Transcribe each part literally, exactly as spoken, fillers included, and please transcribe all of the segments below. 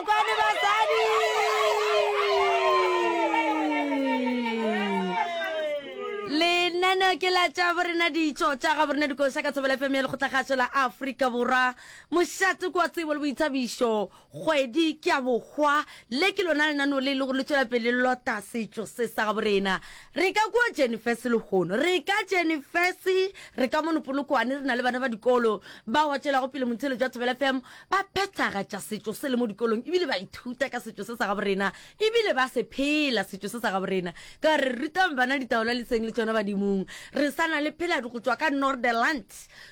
Megolokwane basadi. Lenaneo ke la tša borena ditšo tša ga borena dikoša ka Thobela F M ya Lekgotlakgašo la Afrika Borwa. Mošate kwa tsebo le boithabišo. Kgwedi ke ya bohwa. Le ke lona lenaneo le e le gore le tšwela pele le lota setšo se sa ga borena. Re ka kua Jenifes lehono. Re ka Jenifes, re ka mono Polokwane, re na le bana ba dikolo bao ba tšwelago pele motheeletšo wa Thobela F M ba phethagatša setšo se le mo dikolong ebile ba ithuta ka setšo se sa ga borena ebile ba se phela setšo se sa ga borena. Ka re rutang bana ditaola le seng le tšona badimong. Re sa na le Pheladi go tšwa ka Norderland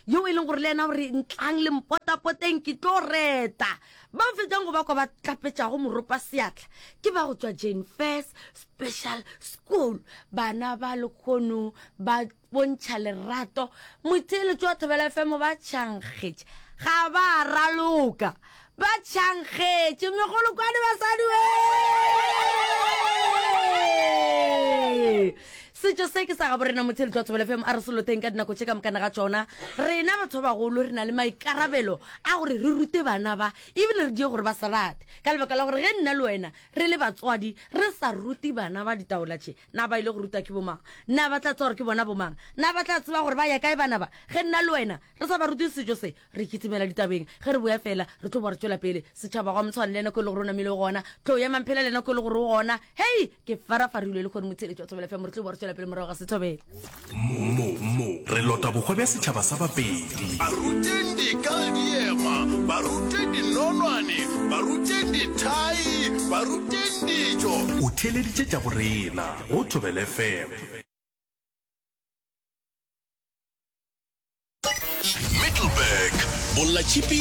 yo e leng gore le yena o re ntlang le mpotapoteng ke tlo reta. Ba fetšang go ba kwa ba tlapetšago moropa seatla ke ba go tšwa Jane Furse Special School. Bana ba lekgono ba bontšha lerato. Motheeletšo wa Thobela F M ba tšhankgetše, ga ba raloka, ba tšhankgetše megolokwane basadi we. Setšo se ke sa gabo rena motheeletšo wa Thobela F M a re se loteng ka dinako tše ka mokana ga tšona. Rena batho ba bagolo re na le maikarabelo a gore re rute bana ba ebile re die gore ba se rate, ka lebaka la gore ge nna le wena re le batswadi re sa rute bana ba ditaola tše, na ba ile go ruta ke bomang? Na ba tla tseba gore ke bona bomang? Na ba tla tseba gore ba ya kae bana ba? Ge nna le wena re sa ba rute setšo se, re kitimela ditabeng. Ge re boya fela re tlo ba re tšwela pele. Setšhaba gwa motshwane le nako e le gore o namile gona, tlo ya mamphela le nako e le gore o gona. Hei, ke farafarilwe le kgone motheeletšo wa Thobela F M, re tlo ba re tšwela pele morago ga sethobela. Mo, mo, re lota bohwa bja setšhaba sa Bapedi. Ba ruteng dika le diema, ba ruteng dinonwane, ba ruteng dithai, ba ruteng dijo. O theeleditše tša borena go Thobela F M. Middelburg, Bollatšhipi.